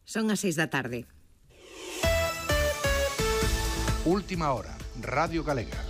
Son as 6 da tarde. Última hora, Radio Galega.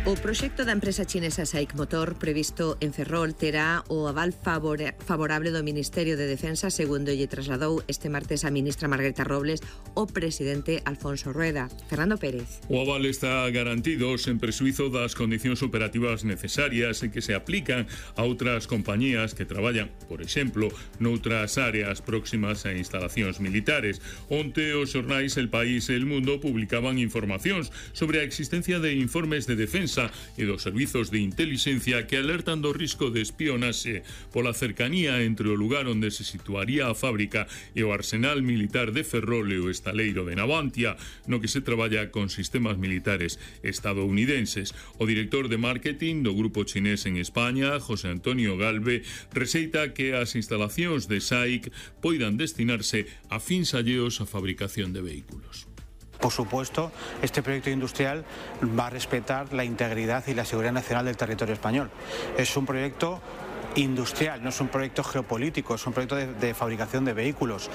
O proxecto da empresa chinesa SAIC Motor previsto en Ferrol terá o aval favorable do Ministerio de Defensa, segundo lle trasladou este martes a ministra Margarita Robles o presidente Alfonso Rueda. Fernando Pérez. O aval está garantido sen prexuízo das condicións operativas necesarias e que se aplican a outras compañías que traballan, por exemplo, noutras áreas próximas a instalacións militares. Onte os xornais El País e El Mundo publicaban informacións sobre a existencia de informes de defensa e dos servizos de intelixencia que alertan do risco de espionaxe pola cercanía entre o lugar onde se situaría a fábrica e o arsenal militar de Ferrol e o estaleiro de Navantia, no que se traballa con sistemas militares estadounidenses. O director de marketing do grupo chinés en España, José Antonio Galve, receita que as instalacións de SAIC poidan destinarse a fins alleos á fabricación de vehículos. Por supuesto, este proyecto industrial va a respetar la integridad y la seguridad nacional del territorio español. Es un proyecto industrial, no es un proyecto geopolítico, es un proyecto de fabricación de vehículos.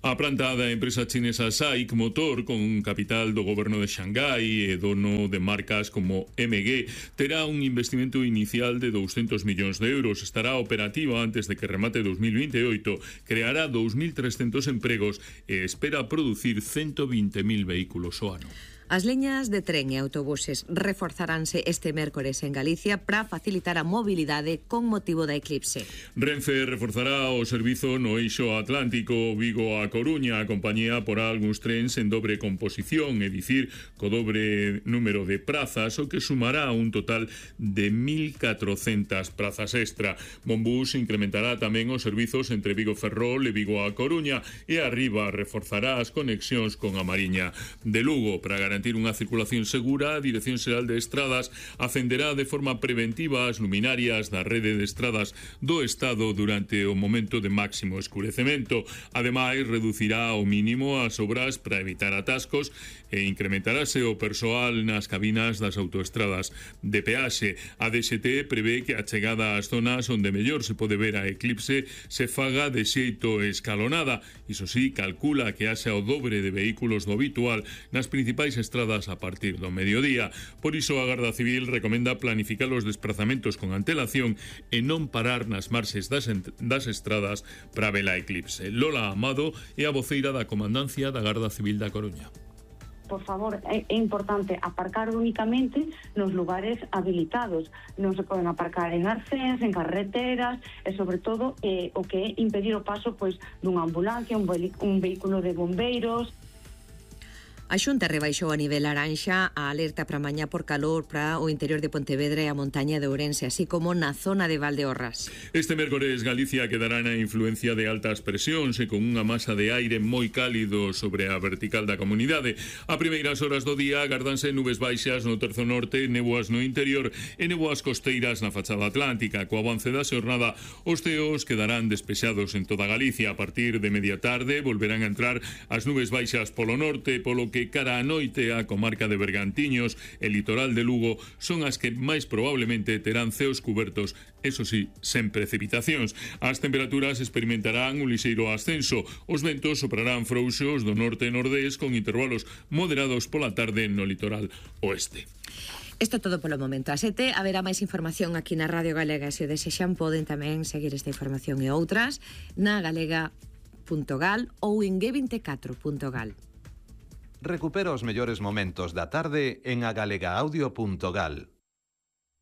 A planta da empresa chinesa SAIC Motor, con un capital do goberno de Xangai e dono de marcas como MG, terá un investimento inicial de 200 millóns de euros. Estará operativa antes de que remate 2028, creará 2.300 empregos e espera producir 120.000 vehículos ao ano. As liñas de tren e autobuses reforzaránse este mércores en Galicia para facilitar a mobilidade con motivo da eclipse. Renfe reforzará o servizo no eixo atlántico Vigo a Coruña. A compañía porá algúns trens en dobre composición, é dicir, co dobre número de prazas, o que sumará un total de 1.400 prazas extra. Monbus incrementará tamén os servizos entre Vigo Ferrol e Vigo a Coruña, e Arriba reforzará as conexións con a Mariña de Lugo. Para garantir unha circulación segura, a Dirección Xeral de Estradas acenderá de forma preventiva as luminarias da rede de estradas do Estado durante o momento de máximo escurecemento. Ademais, reducirá ao mínimo as obras para evitar atascos e incrementarase o persoal nas cabinas das autoestradas de peaxe. A DXT prevé que a chegada ás zonas onde mellor se pode ver a eclipse se faga de xeito escalonada. Iso sí, calcula que haxa o dobre de vehículos do habitual nas principais estradas a partir do mediodía. Por iso a Garda Civil recomenda planificar os desplazamentos con antelación e non parar nas marxes das estradas para ver a eclipse. Lola Amado é a voceira da Comandancia da Garda Civil da Coruña. Por favor, é importante aparcar únicamente nos lugares habilitados. Non se poden aparcar en arcéns, en carreteras e, sobre todo, o que é impedir o paso dunha ambulancia, un vehículo de bombeiros. A Xunta rebaixou a nivel laranxa a alerta para mañá por calor para o interior de Pontevedra e a montaña de Ourense, así como na zona de Valdeorras. Este mércores Galicia quedará na influencia de altas presións e con unha masa de aire moi cálido sobre a vertical da comunidade. A primeiras horas do día agardanse nubes baixas no terzo norte, néboas no interior e néboas costeiras na fachada atlántica. Co avance da xornada, os ceos quedarán despexados en toda Galicia. A partir de media tarde volverán a entrar as nubes baixas polo norte, polo que cara a noite a comarca de Bergantiños e litoral de Lugo son as que máis probablemente terán ceos cubertos, eso sí, sen precipitacións. As temperaturas experimentarán un lixeiro ascenso. Os ventos soprarán frouxos do norte e nordés con intervalos moderados pola tarde no litoral oeste. Isto todo polo momento. A 7 haberá máis información aquí na Radio Galega. Se o desexan, poden tamén seguir esta información e outras na galega.gal ou en g24.gal. Recupera os mellores momentos da tarde en agalegaudio.gal.